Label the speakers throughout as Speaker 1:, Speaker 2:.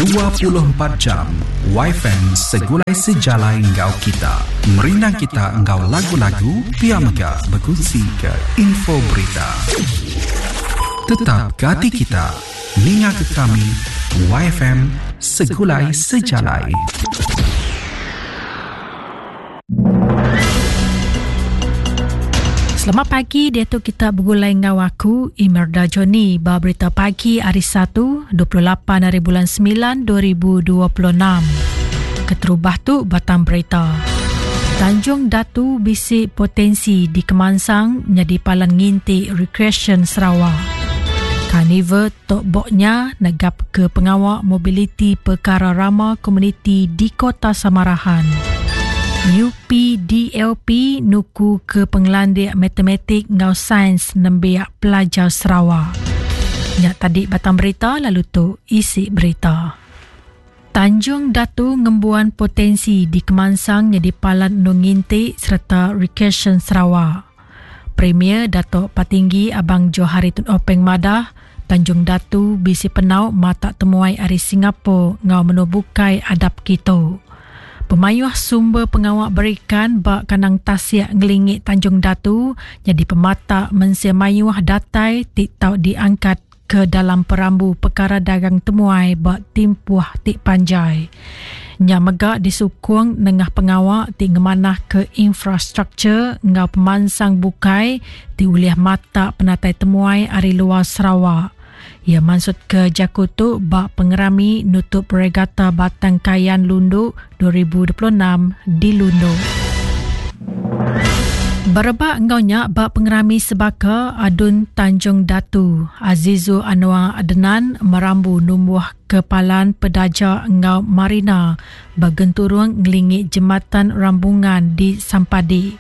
Speaker 1: 24 jam Wifi segulai sejalai enggau kita. Merindang kita enggau lagu-lagu pia mega bekunsi ke info berita. Tetap gati kita. Ninga ke kami YFM Segulai Sejalai.
Speaker 2: Selamat pagi, diatu kita begulai enggau aku Imerda Johnny ba berita pagi hari 1, 28 hari bulan 9 2026. Keterubah tu batang berita. Tanjung Datu bisi potensi dikemansang nyadi palan nginti rekreasyen Sarawak. Karnival Tok Bok nya negap ke pengawa mobiliti pekara rama komuniti di Kota Samarahan. UPDLP nuku ke pengelandik matematik enggau sains nembiak pelajar Sarawak. Nya tadi batang berita lalu tu isi berita. Tanjung Datu ngembuan potensi dikemansang nyadi palan endur nginti sereta rekreasyen Sarawak. Premier Datuk Patinggi Abang Johari Tun Openg madah, Tanjung Datu bisi penau matak temuai ari Singapore enggau menua bukai adap kitu. Pemayuh sumber pengawa berikan ba kandang tasik ngelingi Tanjung Datu nyadi pematak mensia mayuh datai ti tau diangkat ke dalam perambu pekara dagang temuai ba timpuh ti panjai. Nya mega disukung nengah pengawa ti ngemanahka infrastruktur enggau pemansang bukai ti ulih matak penatai temuai ari luar Sarawak. Iya mansutka jaku tu ba pengerami nutup Regata Batang Kayan Lundu 2026 di Lundu. Berebak enggau nya ba pengerami sebaka Adun Tanjung Datu, Azizul Anwar Adenan merambu numbuh ke palan pedaja enggau marina ba genturung ngelingi Jematan Rambungan di Sampadi.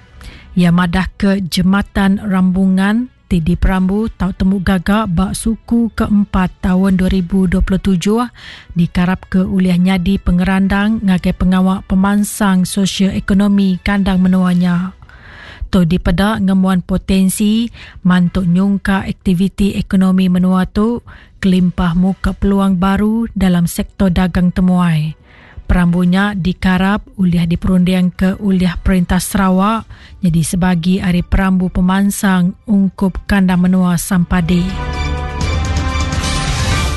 Speaker 2: Iya madahka Jematan Rambungan ti diperambu tau temu gaga ba suku keempat taun 2027 dikarapka ulih nyadi pengerandang ngagai pengawa pemansang sosio-ekonomi kandang menua nya. Tu dipeda ngembuan potensi mantu nyungkak aktiviti ekonomi menua tu kelimpah muka peluang baru dalam sektor dagang temuai. Perambu nya dikarap ulih diperundingka ulih Perintah Sarawak nyadi sebagi ari perambu pemansang ungkup kandang menua Sampadi.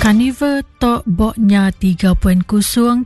Speaker 2: Karnival Tok Bok Nya 3.0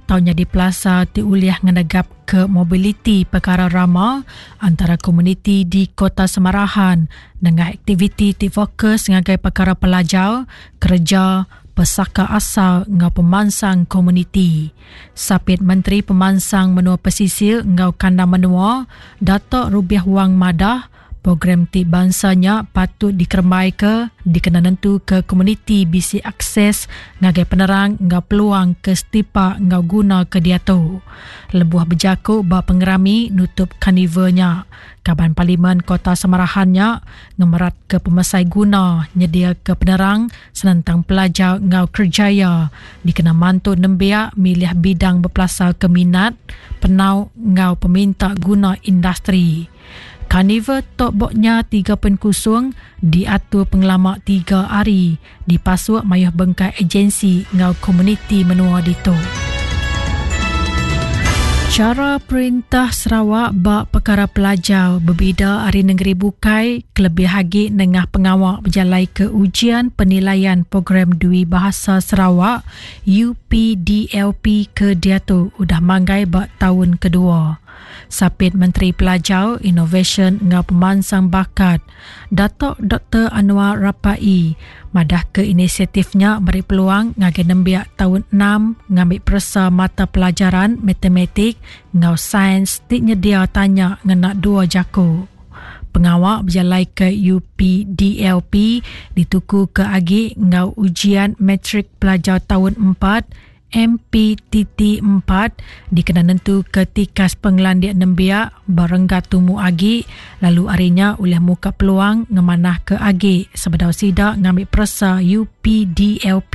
Speaker 2: tau nyadi pelasar ti ulih ngenegapka mobiliti pekara rama antara komuniti di Kota Samarahan nengah aktiviti ti fokus ngagai pekara pelajar, kereja, pesaka asal enggau pemansang komuniti. Sapit Menteri Pemansang Menua Pesisir enggau Kandang Menua, Datuk Rubiah Wang madah, program ti bansa nya patut dikerembaika dikena nentuka komuniti bisi akses ngagai penerang enggau peluang ke setipak enggau guna ke diatu. Lebuh bejaku ba pengerami nutup karnival nya, Kaban Parlimen Kota Samarahan nya ngemeratka pemesai guna nyediaka penerang senentang pelajar enggau kerejaya dikena mantu nembiak milih bidang bepelasarka minat, penau enggau peminta guna industri. Karnival Tok Bok Nya 3.0 diatur pengelama tiga hari dipasuk mayuh bengkah agensi enggau komuniti menua ditu. Chara perintah Sarawak ba pekara pelajar bebida ari nengeri bukai kelebih agi nengah pengawa bejalaika Ujian Penilaian Program Dwi Bahasa Sarawak, UPDLP, ke diatu udah manggai ba taun kedua. Sapit Menteri Pelajar, Inovasyen enggau Pemansang Bakat, Datuk Doktor Annuar Rapaee madahka inisiatif nya meri peluang ngagai nembiak taun enam ngambi peresa mata pelajaran Matematik enggau Sains ti nyedia tanya ngena dua jaku. Pengawa bejalaika UPDLP ditukuka agi enggau Ujian Matrik Pelajar Taun Empat, MPTT 4, dikena nentuka tikas pengelandik nembiak ba renggat tumu agi lalu ari nya ulih muka peluang ngemanahka agi sebedau sida ngambi peresa UPDLP.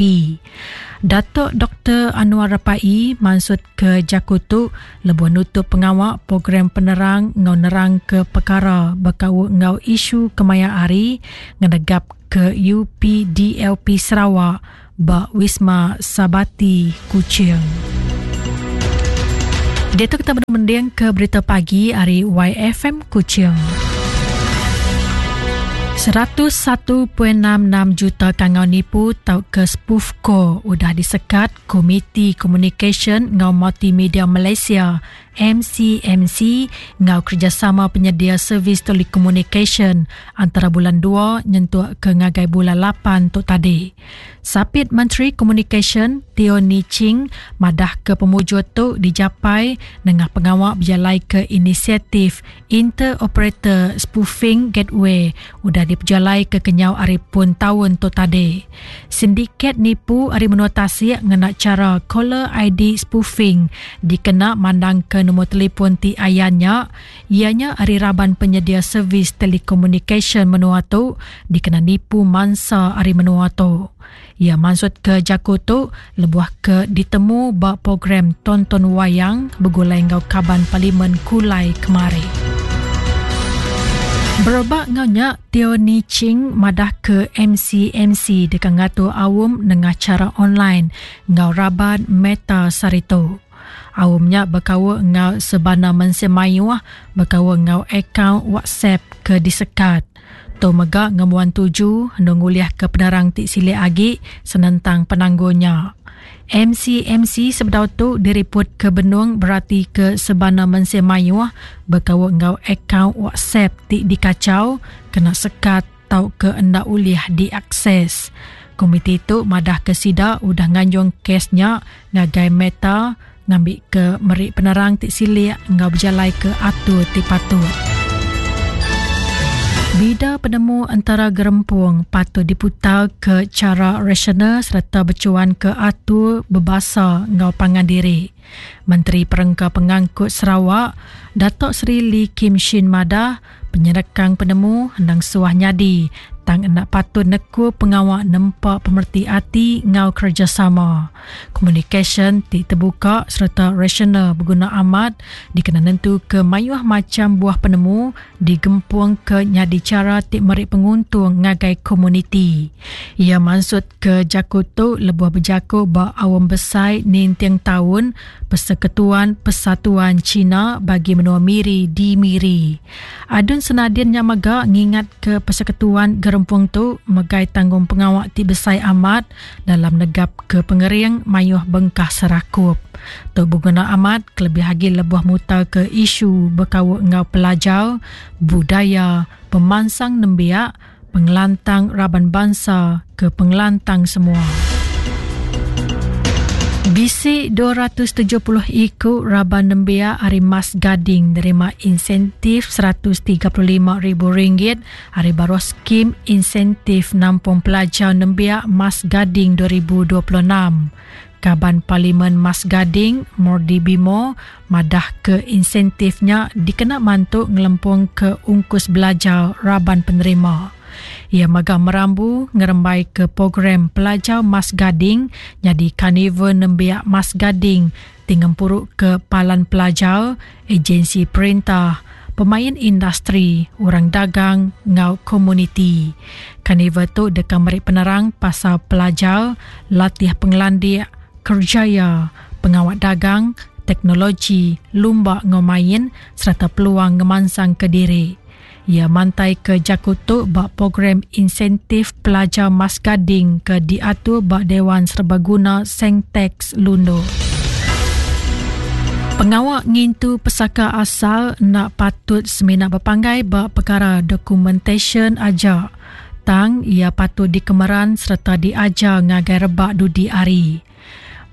Speaker 2: Datuk Doktor Annuar Rapaee mansutka jaku tu lebuh nutup pengawa program penerang enggau nerangka pekara bekaul enggau isu kemaya hari ngenegapka UPDLP Sarawak. ba Wisma Sabati, Kuching. Diatu kita benung mending ke berita pagi ari YFM Kuching. 101.66 juta kangau nipu tauka spoof call udah disekat Komiti Komunikasyen enggau Multimedia Malaysia MCMC enggau kerejasama penyedia servis telekomunikasyen antara bulan dua nyentuk ke ngagai bulan lapan tu tadi. Sapit Menteri Komunikasyen Teo Nie Ching madahka pemujur tu dijapai nengah pengawa bejalaika inisiatif Inter-Operator Spoofing Gateway udah dipejalaika kenyau ari pun taun tu tadi. Sindiket nipu ari menua tasik ngena chara caller ID spoofing dikena mandangka nombor telefon ti ayan nya iya nya ari raban penyedia servis telekomunikasyen menua tu dikena nipu mansa ari menua tu. Iya mansutka jaku tu lebuh ke ditemu ba program Tonton Wayang begulai enggau Kaban Parlimen Kulai kemari. Berebak enggau nya, Teo Nie Ching madahka MCMC deka ngatur aum nengah chara online enggau raban Meta sehari tu. Aum nya bekaul enggau sebana mensia mayuh bekaul enggau akaun WhatsApp ke disekat. Tu mega ngembuan tuju endur ngulihka penerang ti silik agi senentang penanggul nya. MCMC sebedau tu diripotka benung beratika sebana mensia mayuh bekaul enggau akaun WhatsApp ti dikachau, kena sekat tauka enda ulih diakses. Komiti tu madahka sida udah nganjung kes nya ngagai Meta ngambika meri penerang ti silik enggau bejalaika atur ti patut. Bida penemu entara gerempung patut diputarka chara rasional sereta bechuanka atur bebasa enggau pangan diri. Menteri Perengka Pengangkut Sarawak, Datuk Seri Lee Kim Shin madah, Penyerekang penemu endang suah nyadi, tang enda patut nekul pengawa nempa pemereti ati enggau kerejasama. Komunikasyen ti tebuka sereta rasional beguna amat dikena nentuka mayuh macham buah penemu digempungka nyadi chara ti meri penguntung ngagai komuniti. Iya mansutka jaku tu lebuh bejaku ba Aum Besai Ninting Taun Persekutuan Persatuan China Bagi Menua Miri di Miri. Adun Senadin nya mega ngingatka persekutuan gerempung tu megai tanggungpengawa ti besai amat dalam negapka pengering mayuh bengkah serakup. Tu beguna amat kelebih agi lebuh mutarka isu bekaul enggau pelajar, budaya, pemansang nembiak, pengelantang raban bansa ke pengelantang semua. Bisi 270 iku raban nembiak ari Mas Gading nerima insentif RM135,000 ari baruh Skim Insentif Nampung Pelajar Nembiak Mas Gading 2026. Kaban Parlimen Mas Gading, Mordi Bimo, madahka insentif nya dikena mantu ngelempungka ungkus belajar raban penerima. Iya mega merambu ngerembaika program Pelajar Mas Gading nyadi Karnival Nembiak Mas Gading ti ngempuruka palan pelajar, ejensi perintah, pemain industri, orang dagang enggau komuniti. Karnival tu deka meri penerang pasal pelajar, latih pengelandik, kerejaya, pengawa dagang, teknologi, lumba enggau main sereta peluang ngemansangka diri. Iya mantaika jaku tu ba Program Insentif Pelajar Mas Gading ke diatur ba Dewan Serbaguna Sengtex Lundu. Pengawa ngintu pesaka asal enda patut semina bepanggai ba pekara dokumentasyen aja, tang iya patut dikemeran sereta diajar ngagai rebak dudi hari.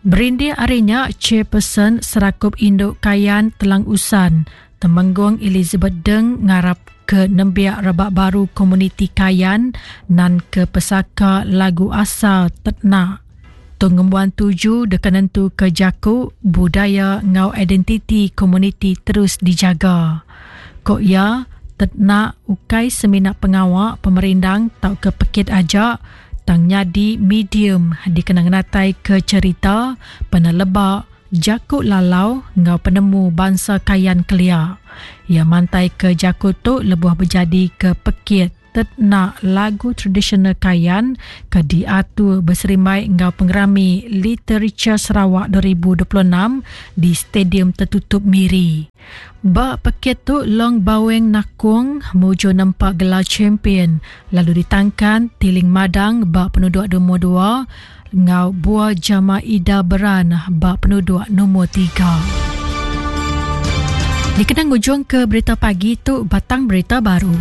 Speaker 2: Berindik ari nya, Chairperson Serakup Indu Kayan Telang Usan, Temenggung Elizabeth Deng ngarapka nembiak rebak baru komuniti Kayan nanka pesaka lagu asal Tetnak. Tu ngembuan tuju deka nentuka jaku, budaya enggau identiti komuniti terus dijaga. Ku iya, Tetnak ukai semina pengawa pemerindang tauka pekit aja tang nyadi medium dikena ngenataika cherita, peneleba, Jaku lalau enggau penemu bansa Kayan kelia. Iya mantaika jaku tu lebuh bejadika pekit. Tetnak Lagu Tradisional Kayan ke diatur beserimbai enggau Pengerami Litericha Sarawak 2026 di Stadium Tertutup Miri. Ba pekit tu Long Baweng Nakung mujur nempa gelar champion lalu ditangkan Tiling Madang ba penuduk lumur dua enggau Bua Jama Ida Beran ba penuduk lumur tiga. Dikena ngujungka berita pagi tu batang berita baru.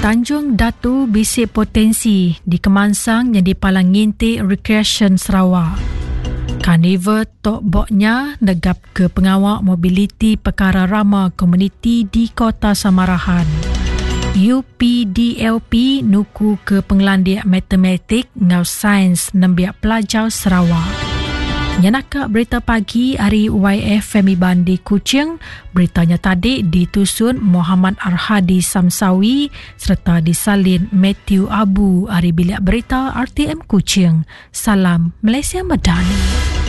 Speaker 2: Tanjung Datu bisi potensi dikemansang nyadi palan nginti rekreasyen Sarawak. Karnival Tok Bok nya negap ke pengawa mobiliti pekara rama komuniti di Kota Samarahan. UPDLP nuku ke pengelandik matematik enggau sains nembiak pelajar Sarawak. Nyenaka berita pagi ari YFM Iban di Kuching, berita nya tadi ditusun Muhammad Arhadi Samsawi sereta disalin Matthew Abu ari Bilik Berita RTM Kuching. Salam Malaysia Madani.